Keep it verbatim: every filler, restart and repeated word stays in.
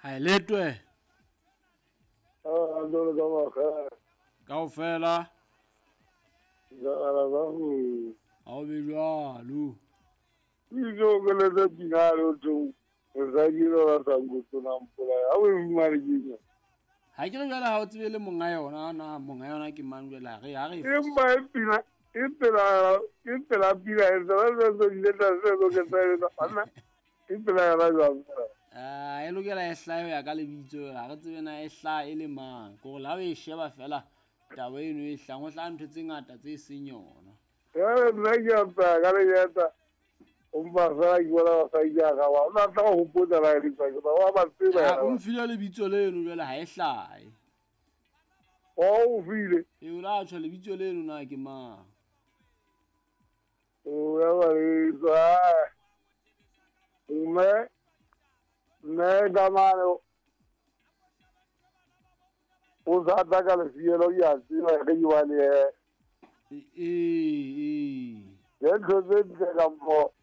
Ha letwe. Ah, ndo ka makga. Kaofela. Jala ba go. Ha o be jwalo. Izo ke le tse pina lo tlo. Re ke lo sa ngotona mpola. Ha o fumane ke. Ha ke re jwale ha o tsebe le monga yona na monga yona ke mang jwale ha re ha re. Empa e pina e pela e pela pina e tsa tsa tsa le tsa tsa ke tsa tsa. E pela ya jwang. Ah, e lokela e hlahe ya ka lebitso ha re tsebe na e hlaha e le mang. Ke hore ha o e sheba fela taba eno e hlang ho hlaha ntho tse ngata tse seng yona. Eh, nna ke a tsaya ka lenyata. O mpa fela ke bona basadi ya ga wa. O tla go hopotsa la e tswa ke ba wa ba tseba. Ha o mfile lebitso leno jwale ha e hlahe. O o file. E o la tjho lebitso leno na ke mang? O ya ba le tswa. Mme mme ka mane o sa tla ka lefielo ke a tseba ge ke bane ee ee ke ntho tse ntle ka mpo